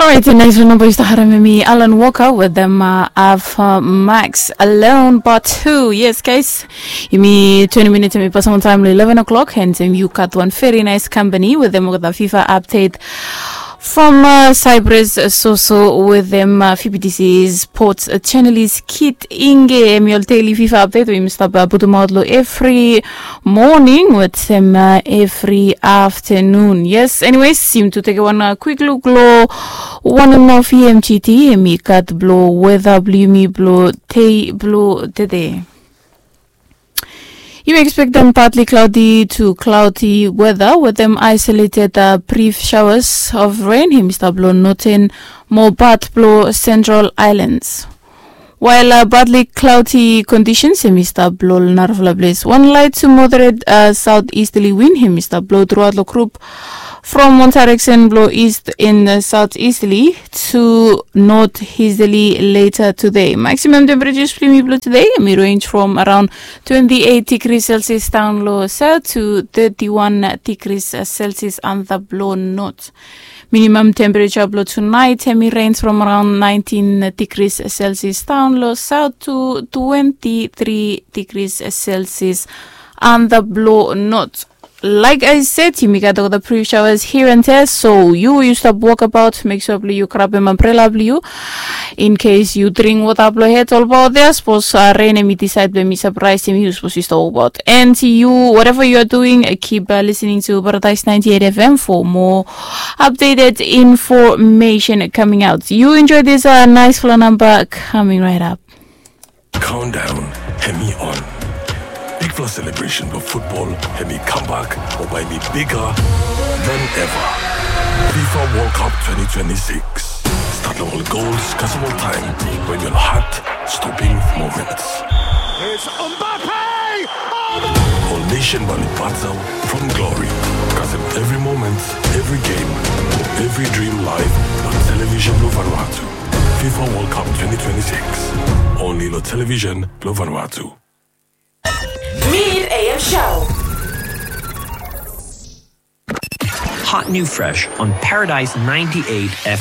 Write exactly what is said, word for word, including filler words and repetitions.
Alright, nice one. Namba yu stap harem hemi Alan Walker wetem Ava Max, Alone Part Two. Yes, guys. Yumi twenty minutes hemi pasem taem long eleven o'clock, and yu gat wan very nice company wetem olgeta FIFA update from Cyprus, Soso, wetem F B T C Sports channel is Kit Inge. Hemi ol daily FIFA update we yumi stap putumaot long evri moning wetem evri aftenun. Yes, anyways, yumi tu tekem wan kwik luk long wan nomo V M G T, hemi gat blong weta blong yumi blong dei blong tede. Yumi ekspektem partly cloudy to cloudy weta wetem isolated brief showers of rain, hemi stap long northern mo part blong Central Islands. Wael partly cloudy conditions hemi stap blong narafala ples. Wan light to moderate southeasterly wind hemi stap blong truaot long group from wan direction blong east and southeasterly to northeasterly later today. Maximum temperatures blong yumi blong today hemi range from around twenty-eight degrees Celsius down long south to thirty-one degrees Celsius antap long north. Minimum temperature blong tonight hemi range from around nineteen degrees Celsius down long south to twenty-three degrees Celsius antap long north. Like I said, yumi gat olgeta brief showers here and there, so yu, yu stap wok abaot, mek sua blong yu grabem ambrela blong yu in case yu dring wota blong hed olbaot ya. Sapos ren hemi disaed blong hemi sapraesem yu, sapos yu stap wokbaot. And yu, whatever you are doing, keep listening to Paradise ninety-eight F M for more updated information coming out. You enjoy this nice fala namba coming right up. Countdown hemi on. Bigfala celebration blong futbol hemi kambak mo bae hemi bigger than ever. FIFA World Cup twenty twenty-six. Stat long ol gols kasem ol taem, wen ol heart-stopping moments. It's Mbappe! Oh, no! Ol nation bae oli batal from glory kasem evri moment, evri game, evri dream live long television blong Vanuatu. FIFA World Cup twenty twenty-six. Only long television blong Vanuatu. Mid A M Show. Hot new fresh on Paradise ninety-eight F M.